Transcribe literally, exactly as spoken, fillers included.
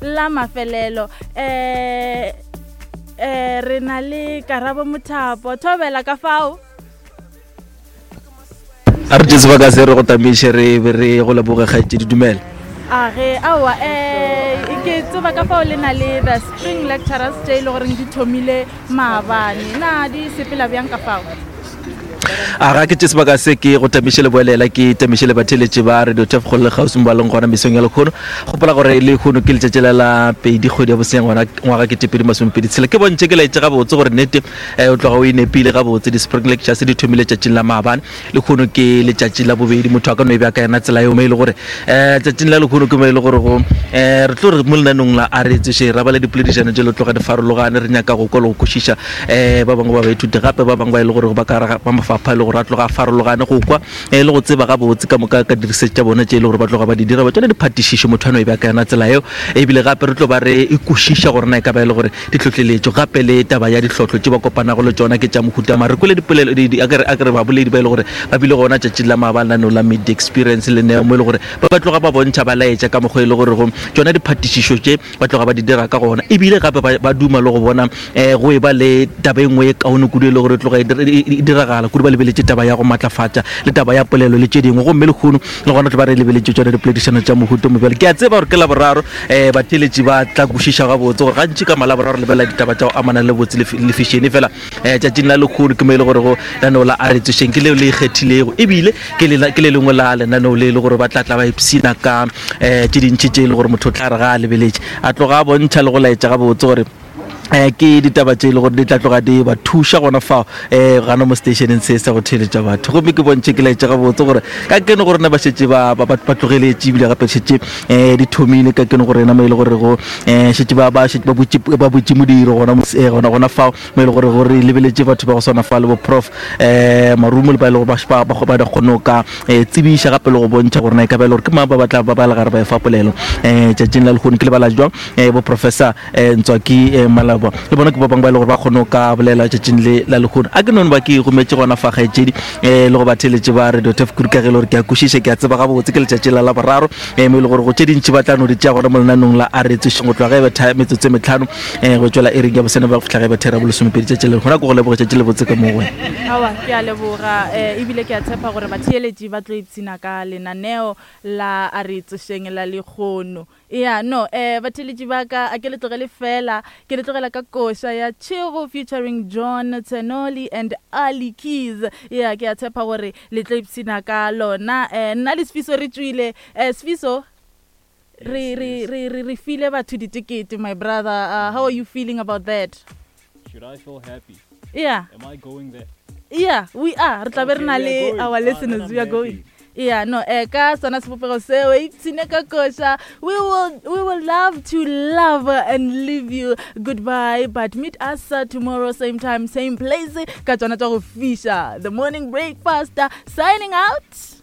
la mafelelo um um re na le Karabo Mothapo. Thobela ka fao. A re tše sebaka se re go tamiše, re be re go leboge, kgaetšedi. Dumela. A ge, aowa, um ke tseba ka fao le na le the spring lecturers tše e le goreng di thomile maabane. Na di sepela bjang ka fao? A ga ke tše sebaka se ke go tamiše le boelela, ke tamiše le batheletše ba Radio Tef kgole le kgauswi mo ba leng gona mesong ya lekgono. Gopola gore le kgono ke letšatši la la pedi kgwedi ya boseng ngwana ngwaga ke tepedi masomepedi tshela. Ke bontšhe ke laetše gabotse gore nnete um o tloga o e nepile gabotse. Di-spring lectures di thomile tšatšing la maabane, le kgono ke letšatši la bobedi. Motho a ka no e bja ka yona tsela eo, mo e le gore um tšatšing la lekgono ke mo e le gore go um re tlo re mo lenanong la a re tsoše ra ba le dipoledišano tše le tloga di farologane. Re nyaka go kwa le go kwešiša um ba bangwe ba baithuti, gape ba bangwe ba e le gore ba ka gare ba mafapha e le gore a tloga a farologane, go kwa um le go tseba gabotse ka moka ka diresearch tša bona tše e le gore ba tloga ba di dira, ba tsone diphatišišo. Motho a no e bja ka yona tsela eo. Ebile gape re tlo ba re e kwešiša gore na e ka ba e le gore ditlhohleletšo gape le taba ya dihlotlo tše ba kopanago le tšona ke tša mohuta mang. Re kwele dipolelo di- di- a ke re- a ke re baboledi ba e le gore ba bile gona tšatšing la maabane lenaneo la Media Experience le neo, mo e le gore ba ba tloga ba bontšha, ba laetša ka mokgwa e le gore go tšona diphatišišo tše ba tloga ba di dira ka gona. Ebile gape ba ba duma le go bona um go e ba le taba e nngwe e kaone kudu e le gore e tloga e dir- e e diragala kudu, ba lebeletše taba ya go matlafatša le taba ya polelo le tše dingwe. Gomme lekgono le gona tlo ba re lebeletše tšona dipoledišano tša mohuta mo. Bjale ke a tseba gore ke Laboraro, um batheletši ba tla kwešiša gabotse gore gantši ka Malaboraro lebelela ditaba tša go amana le botse le fi- le fashion. Fela um tšatšing la lekgono ke mo e le gore go lenaneo la a re tsošeng ke leo le ikgethilego, ebile ke le ke le lengwe la lenaneo le e le gore ba tla tla ba ipshina ka um tše dintši tše e le gore motho o tla re ga a lebeletše a tloga a bontšha le go laetša gabotse gore um ke ditaba tše e le gore di tla tloga di ba thuša gona fao um gana mo stationeng se sa go theeletša batho. Gomme ke bontšhe ke laetša gabotse gore ka keno gore na ba šetše ba ba- ba ba tlogeletše, ebile gape šetše um di thomile ka keno gore na mo e le gore go um šetše ba ba šetše ba butše ba butše modiro gona mo eh, gona gona fao mo e le gore gore lebeletše batho ba go swana fa le bo Prof um Marumo le ba e le gore ba ba ba ba kgone go ka eh, tsebiša gape le go bontšha gore na e ka ba e le gore ke mang ba ba tla ba ba le gare ba e fa polelo um tšatšing la lekgono. Ke lebala jwang um bo Professor um Ntswaki um Malabo le bona ke ba bangwe ba e le gore ba kgone go ka bolela tšatšing le la lekgono. A ke none ba ke gometse gona fa, kgaetšedi, um le go batheletše ba Radio Tef kudu, ka ge e le gore ke a kwešiša, ke a tseba gabotse ke letšatši la Laboraro um mo e le gore go tše dintši ba tla no di tšea gona mo lenanong la a re tsošeng go tloga ge e betha metsotso e metlhano um go tšwela iring ya bosene ba go fihla ge e betha ira bolesomepedi tšatši le gona. Ke go leboge, tšatši le botse ka mo go wena. Aowa, ke a leboga, um ebile ke a tshepa gore batheeletši ba tlo ipshina ka lenaneo la a re tsošeng la lekgono. Ya no, um batheeletši ba ka, a ke le tlogele fela, ke le tlogela ka koša ya Tšhego featuring John Tsenoli and Ali Keys. Ya, ke a tshepa gore le tlo ipshina ka lona. um nna le Sefiso re tšwile. um Sefiso, re re re re re file batho ditekete, my brother. uh, how are you feeling about that? Should I feel happy? Yeah. Am I going there? Yeah, we are. Re tla be re Okay, na we are le going. our Ah, then listeners. I'm We are going. happy. Yeah, no, eh ka sona sebopego seo, ipshine ka koša. We will we will love to love and leave you. Goodbye, but meet us uh, tomorrow, same time, same place, ka tsona tša go fiša. The Morning Breakfast uh, signing out.